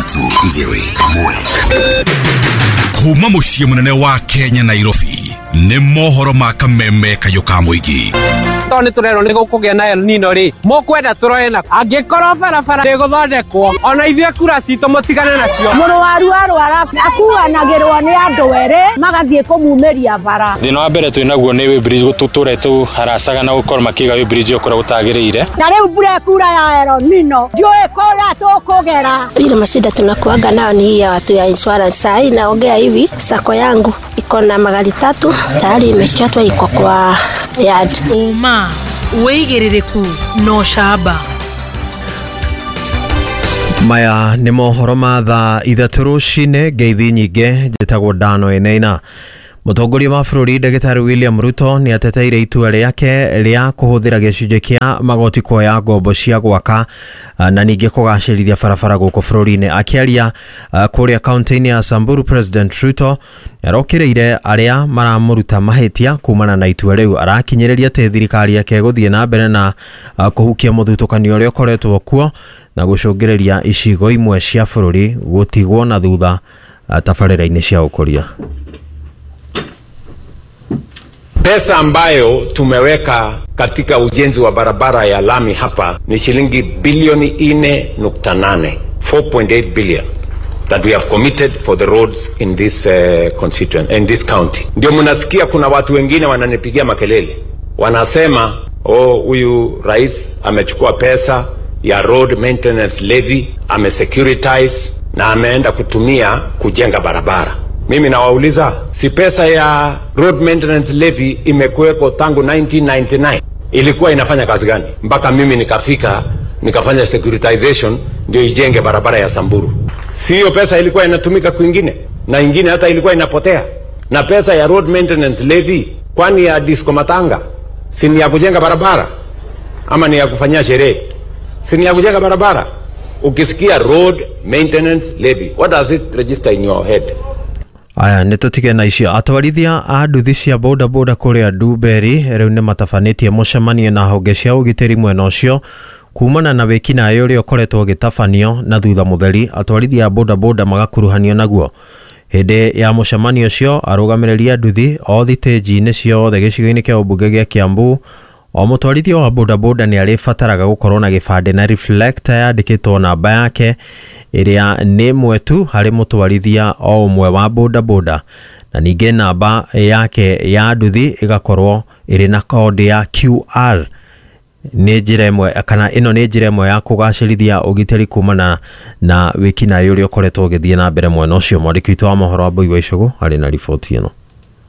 3 2 1. Kuma mũciĩ mũnene wa Kenya, Nairobi, nĩ mohoro ma kameme kayũ ka mũingĩ. Tondũ nĩ tũrerwo nĩ gũkũgĩa na El Nino rĩ, mũkwenda tũroe na angĩkorwo barabara ndĩgũthondekwo, ona ithuĩ kura citũ mũtigane nacio. Mũrwaru arwara akuanagĩrwo nĩ andũ erĩ magathiĩ kũmumĩria bara. Thĩna wa mbere twĩ naguo nĩ weighbridge, gũtũtũre tũharacaga na gũkorwo makĩiga weighbridge ĩyo kũrĩa gũtagĩrĩire. Na rĩu mbura ĩkura ya El Nino, ndiũĩ kũrĩa tũkũgera. Ile mashida tunakuaga nayo ni hii ya watu ya insurance. Saa hii naongea hivi, sako yangu iko na magari 3 tayari imechatwa, iko kwa yard. Ũma, wĩigĩrĩrĩku na ũcamba. Maya nĩ mohoro ma thaa 3 rũcinĩ. Ngeithi nyingĩ, njĩtagwo Dano Eneina. Mũtongoria wa bũrũri Ndagĩtarĩ William Ruto nĩ ateteire itua rĩake rĩa kũhũthĩra gĩcunjĩ kĩa magoti kuoya ngombo cia gwaka na ningĩ kũgacĩrithia barabara gũkũ bũrũri-inĩ. Akĩaria kũrĩa kaunti-inĩ ya Samburu, President Ruto nĩarokĩrĩire arĩa maramũruta mahĩtia kumana na itua rĩu. Arakinyĩrĩria atĩ thirikari yake ĩgũthiĩ na mbere na kũhukia mũthutũkanio ũrĩa ũkoretwo kuo na gũcũngĩrĩria icigo imwe cia bũrũri gũtigwo na thutha tabarĩra-inĩ cia ũkũria. Pesa ambayo tumeweka katika ujenzi wa barabara ya lami hapa ni shilingi bilioni 4.8, 4.8 billion that we have committed for the roads in this constituent, in this county. Ndio mnasikia kuna watu wengine wananipigia makelele, wanasema oh, huyu rais amechukua pesa ya road maintenance levy, amesecuritize na ameenda kutumia kujenga barabara. Mimi nawauliza, si pesa ya road maintenance levy imekuwepo tangu 1999? Ilikuwa inafanya kazi gani mpaka mimi nikafika nikafanya securitization ndio ijenge barabara ya Samburu? Si hiyo pesa ilikuwa inatumika kwingine, na ingine hata ilikuwa inapotea. Na pesa ya road maintenance levy, kwani ya disco matanga si ni ya kujenga barabara ama ni ya kufanyia sherehe? Si ni ya kujenga barabara? Ukisikia road maintenance levy, what does it register in your head? Aya, nĩ tũtige na icio. Atwarithia a nduthi cia bodaboda kũrĩa Ndumberi rĩu nĩ matabanĩtie mũcemanio na honge cia ũgitĩri mwena ũcio kumana na wĩkinaĩ ũrĩa ũkoretwo ũgĩtabanio na thutha mũtheri atwarithia a bodaboda magakuruhanio naguo. Hĩndĩ ya mũcemanio ũcio, arũgamĩrĩri a nduthi o thitĩnji-inĩ ciothe gĩcigo-inĩ kĩa ũmbunge gĩa Kiambu, o mũtwarithia wa bodaboda nĩ arĩbataraga gũkorwo na gĩbandĩ na reflector yandĩkĩtwo namba yake ĩrĩa nĩ ĩmwe tu harĩ mũtwarithia o ũmwe wa bodaboda, na ningĩ namba yake ya nduthi ĩgakorwo ĩrĩ na kodi ya QR. Nĩ njĩra ĩmwe, kana ĩno nĩ njĩra ĩmwe ya kũgacĩrithia ũgitĩri kumana na wĩkinaĩ ũrĩa ũkoretwo ũgĩthiĩ na mbere mwena ũcio. Mwandĩki witũ wa mohoro Wambui wa Icũgũ arĩ na riboti ĩno.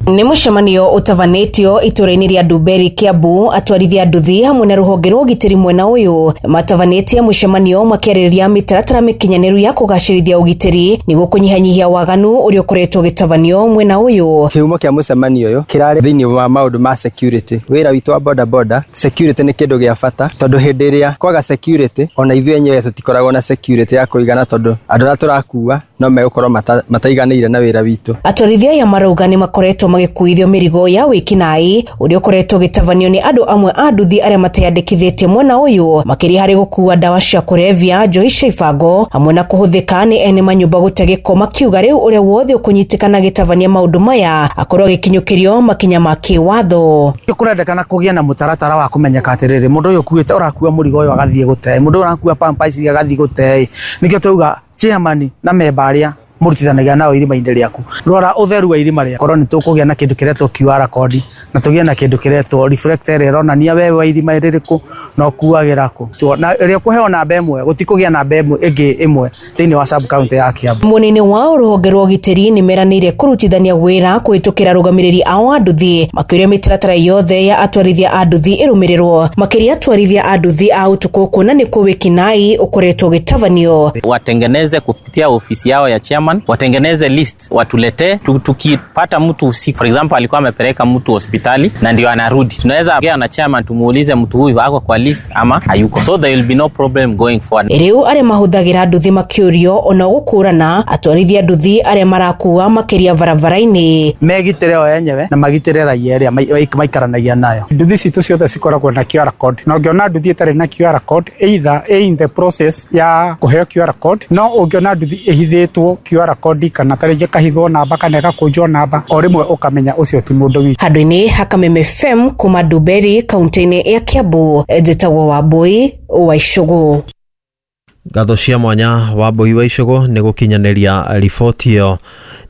Nĩ mũcemanio ũtabanĩtio itũra-inĩ rĩa Ndumberi, Kiambu. Atwarithia nduthi hamwe na rũhonge rwa ũgitĩri mwena ũyũ matabanĩtie mũcemanio makĩarĩrĩria mĩtaratara mĩkinyanĩru ya kũgacĩrithia ũgitĩri nĩguo kũnyihanyihia waganu ũrĩa ũkoretwo ũgĩtabanio mwena ũyũ. Kĩhumo kĩa mũcemanio ũyũ kĩrarĩ thĩinĩ wa maũndũ ma security. Wĩra witũ wa bodaboda, security nĩ kĩndũ gĩa bata, tondũ hĩndĩ ĩrĩa kwaga security, ona ithuĩ enyewe tũtikoragwo na security ya kũigana, tondũ andũ arĩa tũrakua no megũkorwo mataiganĩire na wĩra witũ. Atwarithia aya marauga nĩ makoretwo magĩkuithio mĩrigo ya wĩkinaĩ ũrĩa ũkoretwo ũgĩtabanio nĩ andũ amwe a nduthi arĩa mateyandĩkithĩtie mwena ũyũ, makĩria harĩ gũkua ndawa cia kũrebia, njohi cia ibango hamwe na kũhũthĩka nĩ ene manyũmba gũte gĩko, makiuga rĩu ũrĩa wothe ũkũnyitĩkana agĩtabania maũndũ maya akorwo agĩkinyũkĩrio makinya ma kĩwatho. Kũrendekana kũgĩe na mũtaratara wa kũmenyeka atĩrĩrĩ, mũndũ ũyũ ũkuĩte ũrakua mũrigo ũyũ agathiĩ gũte, mũndũ ũyũ ũrakua pampa ici agathiĩ gũte. Nĩkĩo twauga chairman na memba arĩa mũrutithanagia nao irima-inĩ rĩaku, rora ũtheru wa irima rĩaku. Korwo nĩ tũkũgĩa na kĩndũ kĩretwo QR code na tũgĩe na kĩndũ kĩretwo reflector ĩrĩa ĩronania wewe wa irima rĩrĩkũ na ũkuagĩra kũ, na ĩrĩa ũkũheo namba ĩmwe, gũtikũgĩa namba ĩmwe ĩngĩ ĩmwe thĩinĩ wa sub county ya Kiambu. Mwena-inĩ wao rũhonge rwa ũgitĩri nĩ meranĩire kũrutithania wĩra kũhĩtũkĩra arũgamĩrĩri ao a nduthi, makĩũria mĩtaratara yothe ya atwarithia a nduthi ĩrũmĩrĩrwo, makĩria atwarithia a nduthi a ũtukũ kuona nĩkuo wĩkinaĩ ũkoretwo ũgĩtabanio. Watengeneze kupitia ofisi yao ya chairman chairman watengeneze list watuletee. Tukipata mtu usiku, for example alikuwa amepeleka mtu hospitali na ndio anarudi, tunaweza ongea na chairman tumuulize mtu huyu ako kwa list ama hayuko, so there will be no problem going forward. Riu aria mahuthagira nduthi makiurio ona gukurana atwarithia nduthi aria marakua makiria barabara-ini megitire o enyewe na magitire raia aria maikaranagia nayo. Nduthi citũ ciothe cikoragwo na QR code, na ũngĩona nduthi ĩtarĩ na QR code either in the process ya kũheo QR code, no ũngĩona nduthi ĩhithĩtwo QR code kana tarĩngĩ ĩkahithwo namba kana ĩgakũnjwo namba, o rĩmwe ũkamenya ũcio ti mũndũ witũ. Handũ-inĩ ha Kameme FM kuma Nduberi kaunti-inĩ ya Kiambu, njĩtagwo Wambui wa Icũgũ. Ngatho cia mwanya Wambui wa Icũgũ nĩ gũkinyanĩria riboti ĩyo.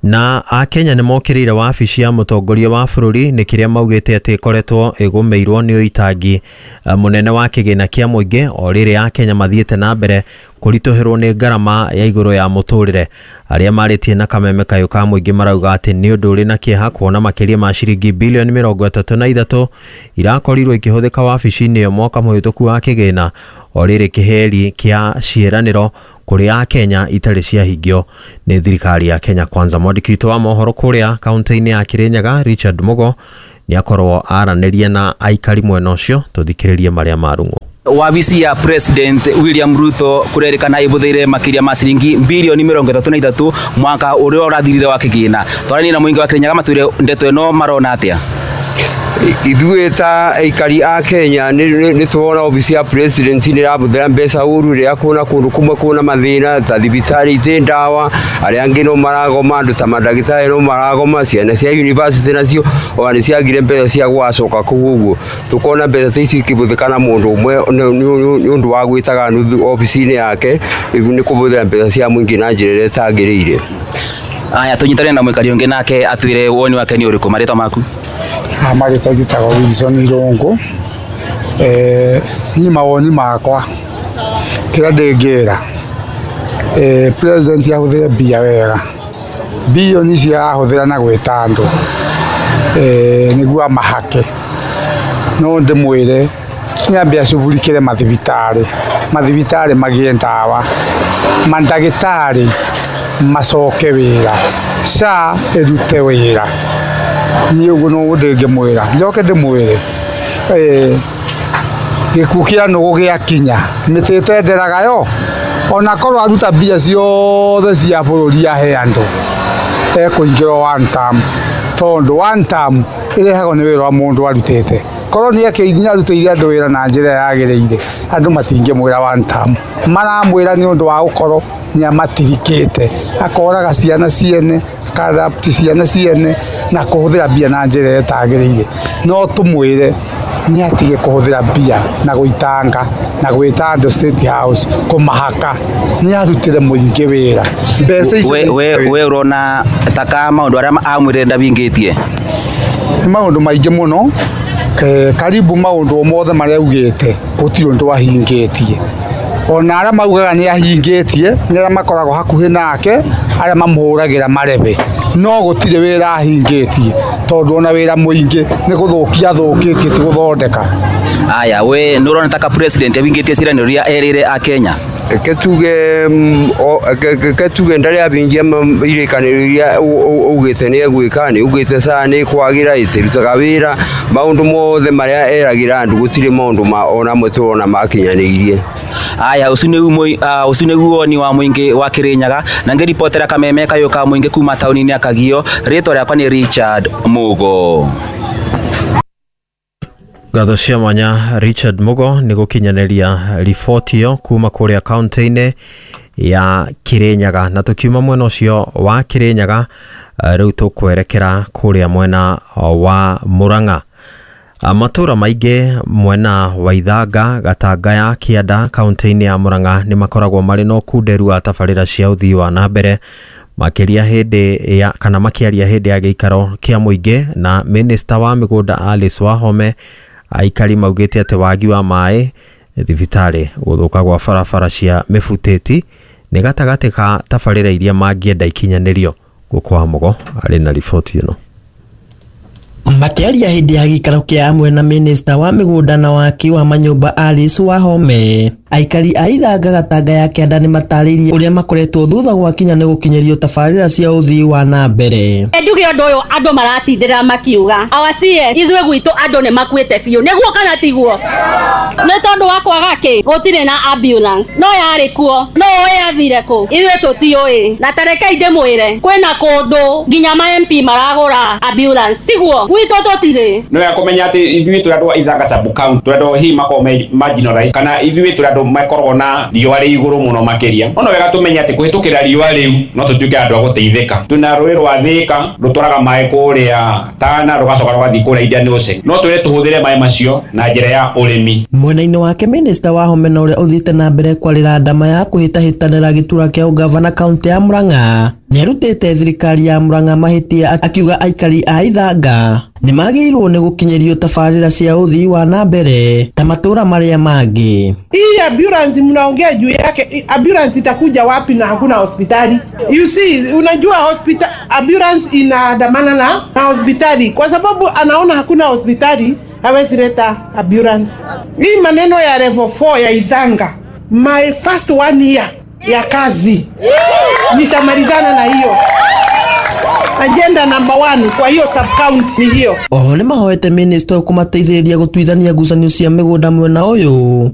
Na akenya nĩ mokĩrĩire wabici ya mũtongoria wa bũrũri nĩ kĩrĩa maugĩte atĩ ĩkoretwo ĩgũmĩirwo nĩ ũitangi mũnene wa kĩgĩna kĩa mũingĩ o rĩrĩa akenya mathiĩte na mbere kũritũhĩrwo nĩ ngarama ya igũrũ ya mũtũrĩre. Arĩa marĩtie na kameme kayũ ka mũingĩ marauga atĩ nĩ ũndũ ũrĩ na kĩeha kuona makĩria ma ciringi bilioni 33 irakorirwo ikĩhũthĩka wabici-inĩ ĩyo mwaka mũhĩtũku wa kĩgĩna o rĩrĩ kĩheri kĩa ciĩranĩro kũrĩ akenya itarĩ ciahingio nĩ thirikari ya Kenya Kwanza. Mwandĩki witũ wa mohoro kũrĩa kaunti-inĩ ya Kirinyaga Richard Mugo nĩ akorwo aranĩria na aikari mwena ũcio, tũthikĩrĩrie marĩa marung'wo. Wabici ya President William Ruto kurerikana ibuthiire makiria ma ciringi bilioni 33 mwaka uria urathirire wa kigina. Twarani na muingi wa Kirinyaga matwire ndeto ino marona atia? Ithuĩ ta aikari a Kenya nĩ tuona obici ya president nĩ ĩrabũthĩra mbeca ũru rĩrĩa kwĩna kũndũ kũmwe kwĩna mathĩna ta thibitarĩ itĩ ndawa, arĩa angĩ no maragoma, andũ ta mandagĩtarĩ no maragoma, ciana cia university nacio ona nĩ ciagire mbeca cia gũgacoka kũu ũguo. Tũkona mbeca ta icio ikĩbũthĩka na mũndũ ũmwe nĩ ũndũ wa gwĩtaga nuthu obici-inĩ yake nĩ kũbũthĩra mbeca cia mũingĩ na njĩra ĩrĩa ĩtagĩrĩire. Aya, tũnyitane na mũikari ũngĩ nake atwĩre woni wake nĩ ũrĩkũ. Marĩtwa maku? Marĩtwa njĩtagwo Wilson Irũngũ. Niĩ mawoni makwa kĩrĩa ndĩngĩra president ahũthĩre mbia wega, bilioni icio arahũthĩra na gwĩta andũ nĩguo amahake, no ndĩmwĩre nĩambe acugurikĩre mathibitarĩ, mathibitarĩ magĩe ndawa, mandagĩtarĩ macoke wĩra, SHA ĩrute wĩra. Niĩ ũguo noguo ndĩngĩmwĩra. Njoke ndĩmwĩre gĩkuũ kĩa nũgũ gĩakinya mĩtĩ ĩtenderaga yo, ona korwo aruta mbia ciothe cia bũrũri ahe andũ ekũingĩra one term, tondũ one term ĩrehagwo nĩ wĩra wa mũndũ arutĩte. Korwo nĩ arutĩire andũ wĩra na njĩra yagĩrĩire, andũ matingĩmwĩra one term, maramwĩra nĩ ũndũ wa gũkorwo nĩ amatirikĩte, akoraga ciana ciene, akarapti ciana ciene na kũhũthĩra mbia na njĩra ĩtagĩrĩire. No tũmwĩre nĩ atige kũhũthĩra mbia na gũitanga na gwĩta andũ State House kũmahaka, nĩ arutĩre mũingĩ wĩra. Mbeca icio we ũrona taka maũndũ arĩa amwĩrire ndabingĩtie? Nĩ maũndũ maingĩ mũno, karibu maũndũ mothe marĩa augĩte gũtirĩ ũndũ ahingĩtie. Ona arĩa maugaga nĩ ahingĩtie nĩ arĩa makoragwo hakuhĩ nake, arĩa mamũhũragĩra marebe, no gũtirĩ wĩra ahingĩtie, tondũ ona wĩra mũingĩ nĩ gũthũkia athũkĩtie ti gũthondeka. Aya, we nĩ ũrona taka president ahingĩtie ciĩranĩro iria erĩire akenya? Reke tuge ndarĩ abingia irĩkanĩro iria augĩte nĩ egwĩka, nĩ augĩte SHA nĩ ĩkwagĩra, ĩtirutaga wĩra, maũndũ mothe marĩa eragĩra andũ gũtirĩ maũndũ ona amwe tũrona makinyanĩirie. Aya, ũcio nĩguo woni wa mũingĩ wa Kirinyaga, na ngĩribotera kameme kayũ ka mũingĩ kuma taũni-inĩ ya Kagio. Rĩtwa rĩakwa nĩ Richard Mugo. Ngatho cia mwanya Richard Mugo nĩ gũkinyanĩria riboti ĩyo kuma kũrĩa kaunti-inĩ ya Kirinyaga. Na tũkiuma mwena ũcio wa Kirinyaga rĩu tũkwerekera kũrĩa mwena wa Murang'a. Matũra maingĩ mwena wa Ithanga, Gatanga ya Kĩanda kaunti-inĩ ya Murang'a nĩ makoragwo marĩ na ũkunderu wa tabarĩra cia ũthii wa na mbere, makĩria hĩndĩ ya kana makĩaria hĩndĩ ya gĩikaro kĩa mũingĩ na minista wa mĩgũnda Alice Wahome. Aikari maugĩte atĩ wagi wa maĩ thibitarĩ, gũthũka gwa barabara cia mĩbutĩti nĩ gatagatĩ ka tabarĩra iria mangĩenda ikinyanĩrio. Gũkũ wa Mũgo arĩ na riboti ĩno. Makĩaria hĩndĩ ya gĩikaro kĩa amwe na minista wa mĩgũnda na waki wa manyũmba Alice Wahome, Aikari a Ithanga Gatanga ya Kĩanda nĩ matarĩirie ũrĩa makoretwo thutha gwakinya nĩ gũkinyĩrio tabarĩra cia ũthii wa na mbere. Njuge ũndũ ũyũ andũ maratindĩra makiuga our CS ithuĩ gwitũ andũ nĩ makuĩte biũ, nĩguo kana tiguo? Nĩ tondũ wa kwaga kĩ gũtirĩ na ambulance, no yarĩ kuo, no ũĩ yathire kũ? Ithuĩ tũtiũĩ. Na tarekei ndĩmwĩre kwĩna kũndũ nginya ma MP maragũra ambulance, tiguo? Gwitũ tũtirĩ. No ya kũmenya atĩ ithuĩ tũrĩ andũ a Ithanga sub county, tũrĩ andũ hihi makoragwo me marginalized, kana ithuĩ tũrĩ andũ makoragwo na riũa rĩ igũrũ mũno makĩria. No wega tũmenye atĩ kũhĩtũkĩra riũa rĩu no tũtuĩke andũ a gũteithĩka. Twĩna rũĩ rwa Thĩka rũtwaraga maĩ kũrĩa Tana rũgacoka rũgathiĩ kũrĩa Indian Ocean. No twĩre tũhũthĩre maĩ macio na njĩra ya ũrĩmi. Mwena-inĩ wake minista Wahome na ũrĩa ũthiĩte na mbere kwarĩra ndama ya kũhĩtahĩtanĩra gĩturwa kĩa ũgavana kaũntĩ ya Murang'a nĩarutĩte thirikari ya Murang'a mahĩtia akiuga aikari a Ithanga nĩmagĩrĩirwo nĩ gũkinyĩrio tabarĩra cia ũthii wa na mbere ta matũra marĩa mangĩ. Hii ambulance mnaongea juu yake, ambulance itakuja wapi na hakuna hospitali? You see, unajua hospital, ambulance inaandamana na hospitali kwa sababu anaona hakuna hospitali, hawezi leta ambulance. Hii maneno ya level 4 ya Ithanga, my first 1 year ya kazi nitamalizana na hiyo agenda number 1 kwa hiyo sub county ni hiyo. Oho nĩmahoete minista ũyũ kũmateithĩrĩria gũtuithania ngucanio cia mĩgũnda mwena ũyũ.